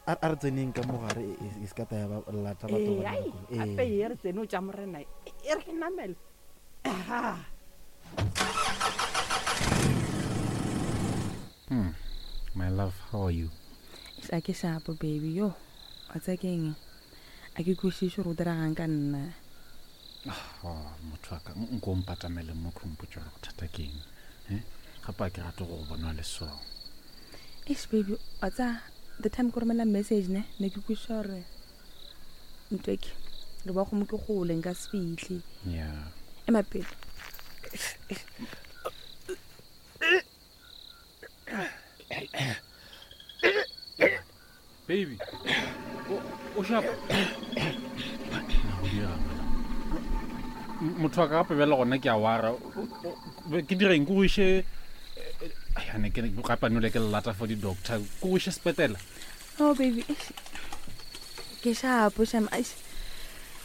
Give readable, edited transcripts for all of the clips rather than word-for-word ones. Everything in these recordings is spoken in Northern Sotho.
A re tseneng ka mogare e, e, e se ka taya ba lata batho Ee, ba ai, dira koloi. gape Ee. e re tsene o tša morena e e re ke namele Aha. My love, how are you? A ke shapo baby yo wa tsaya ke eng a ke kwešiše gore o diragang ka nna Oh, motho wa ka nko o mpatamele mo kgompotse gore bothata ke eng Eh? Gape a ke rate go go bona le so. Eish baby wa tsaya the time ke romela message ne ne ke kwešiša gore ntho e ke re ba gomo ke gole nka se fitlhe Yeah. ema pele Baby. O o sharp. Na go dirang wena? Motho wa ka gape bjale gona ke a wara. Ke direng ke go iše ane ke gape a nole ke lelata for di-doctor ke go iše sepetela oh baby eish. ke shapo sham eish.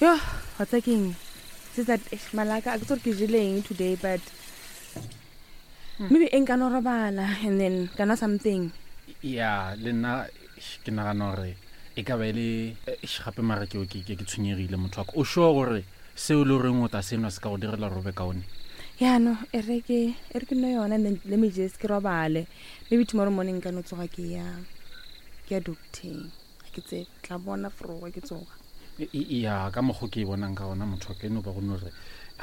yo wa tsaya ke eng se that eish, malaka a ke tse gore ke jeleng today but maybe e nka no robala and then ka nwa something ya le nna eish, ke nagana gore e ka ba e le eish, gape mara ke ke ke tshwenyegile motho wa ka o sure gore seo e le goreng o ta senwa se ka go direla gore o be kaone ya no e re ke e re ke nwe yona and then let me just ke robale maybe tomorrow morning ka no tsoga ke ya ke ya docteng ga ke tsebe tla bona foroga ke tsoga ya ka mokgo ke e bonang ka gona motho wa ka e no ba go no re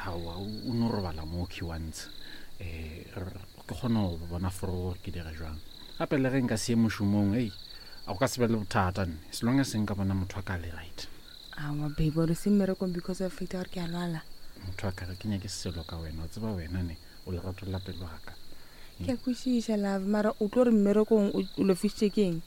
aowa o no robala mo key once um ke kgone go bona foro gore ke dira jwang gape le ge nka se ye mošomong ei a go ka se be le bothata nne as long as nka bona motho wa ka le right aowa baby ore se mmerekong because of fact gore ke a lwala motho wa ka ga ke nyake selo ka wena o tseba wena ne o lerato la pelo ga ka ke a kwešiša love mara o tlo re mmerekong o lofisitše ke eng